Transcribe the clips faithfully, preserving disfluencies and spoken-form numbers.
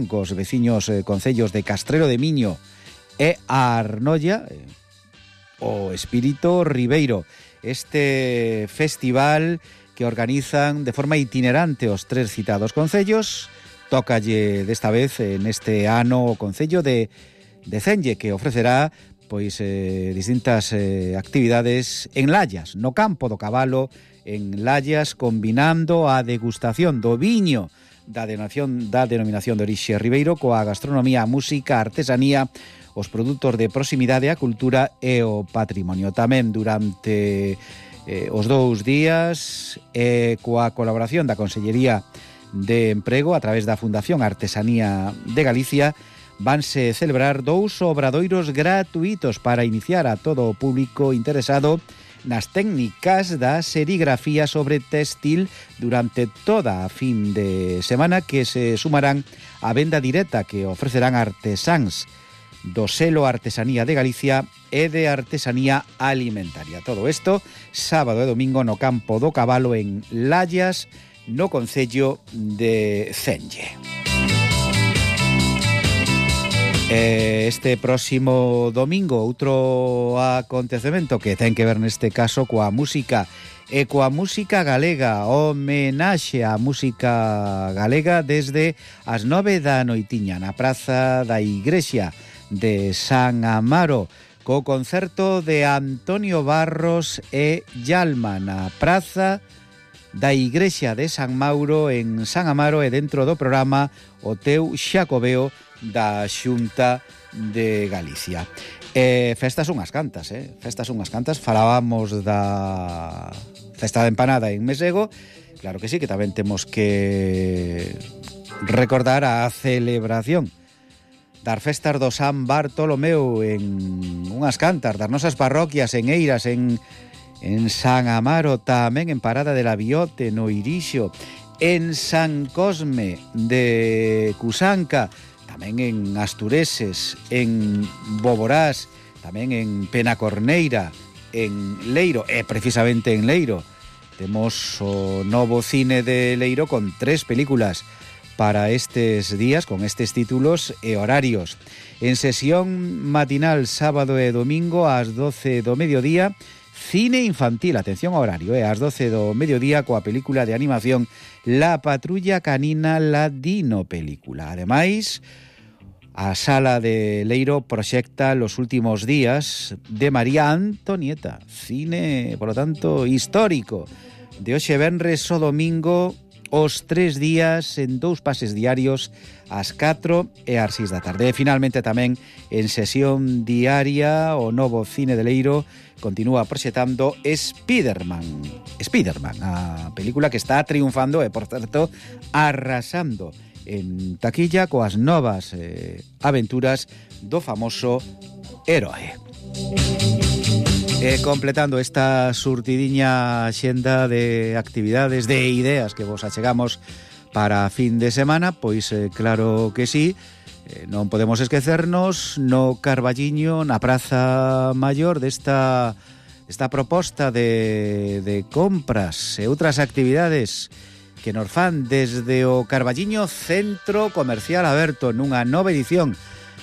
cos veciños eh, concellos de Castrelo de Miño e Arnolla, eh, o Espírito Ribeiro. Este festival que organizan de forma itinerante os tres citados concellos, tócalle desta vez en este ano o concello de, de Cenge, que ofrecerá pois eh, distintas eh, actividades en Lallas, no campo do cabalo, en Lallas, combinando a degustación do viño da denominación, da denominación de orixe Ribeiro coa gastronomía, a música, a artesanía, os produtos de proximidade, a cultura e o patrimonio. Tamén durante eh, os dous días, eh, coa colaboración da Consellería de Emprego a través da Fundación Artesanía de Galicia, vanse celebrar dous obradoiros gratuitos para iniciar a todo o público interesado nas técnicas da serigrafía sobre textil durante toda a fin de semana, que se sumarán á venda directa que ofrecerán artesáns do selo Artesanía de Galicia e de Artesanía Alimentaria. Todo isto sábado e domingo no campo do cabalo en Lallas, no concello de Cenge. Este próximo domingo outro acontecemento que ten que ver neste caso coa música e coa música galega, homenaxe á música galega desde as nove da noitiña na Praza da Igrexa de San Amaro, co concerto de Antonio Barros e Yalma na Praza da Igrexa de San Mauro en San Amaro, e dentro do programa o teu Xacobeo da Xunta de Galicia. Eh, festas unhas cantas, eh? Festas unhas cantas. Falábamos da festa da empanada en Mesego. Claro que sí, que tamén temos que recordar a celebración das festas do San Bartolomeu en unhas cantas das nosas parroquias en Eiras, en, en San Amaro, tamén en Parada de la Biote, no Irixo, en San Cosme de Cusanca, tamén en Astureses, en Boborás, tamén en Penacorneira, en Leiro, e precisamente en Leiro temos o novo cine de Leiro con tres películas para estes días, con estes títulos e horarios. En sesión matinal sábado e domingo ás doce do mediodía, cine infantil, atención ao horario, eh, ás doce do mediodía coa película de animación La Patrulla Canina, la Dino Película. Ademais, a Sala de Leiro proxecta Los últimos días de María Antonieta, cine, por lo tanto, histórico, de hoxe venres o domingo, os tres días en dous pases diarios ás catro e ás seis da tarde. E finalmente tamén en sesión diaria o novo cine de Leiro continúa proxectando Spiderman. Spiderman, a película que está triunfando e, por certo, arrasando en taquilla coas novas eh, aventuras do famoso heroe. E completando esta surtidiña xenda de actividades, de ideas que vos achegamos para fin de semana, pois eh, claro que sí, eh, non podemos esquecernos no Carballiño, na Praza Maior, desta, desta proposta de, de compras e outras actividades que nos fan desde o Carballiño Centro Comercial Aberto nunha nova edición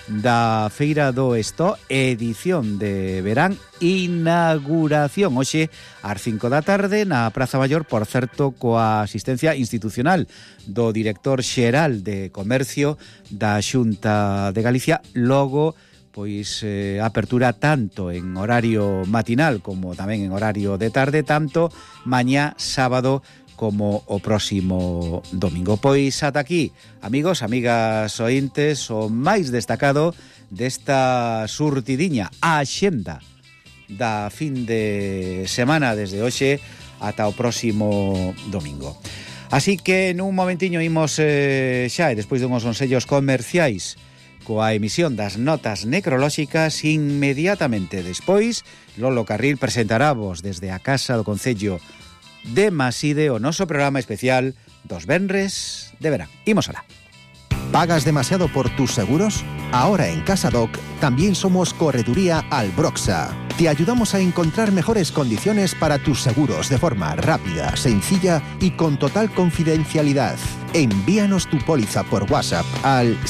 da Feira do Estó, edición de verán, inauguración hoxe ás cinco da tarde na Praza Maior, por certo, coa asistencia institucional do director xeral de Comercio da Xunta de Galicia. Logo, pois eh, apertura tanto en horario matinal como tamén en horario de tarde, tanto mañá sábado como o próximo domingo. Pois ata aquí, amigos, amigas ointes, o máis destacado desta surtidiña, a axenda da fin de semana desde hoxe ata o próximo domingo. Así que nun momentiño imos eh, xa, e despois dunhos consellos comerciais coa emisión das notas necrolóxicas, inmediatamente despois Lolo Carril presentarávos desde a Casa do Concello de Maside o noso programa especial dos venres de verán. Imos alá. ¿Pagas demasiado por tus seguros? Ahora en CasaDoc también somos Correduría Albroxa. Te ayudamos a encontrar mejores condiciones para tus seguros de forma rápida, sencilla y con total confidencialidad. Envíanos tu póliza por WhatsApp al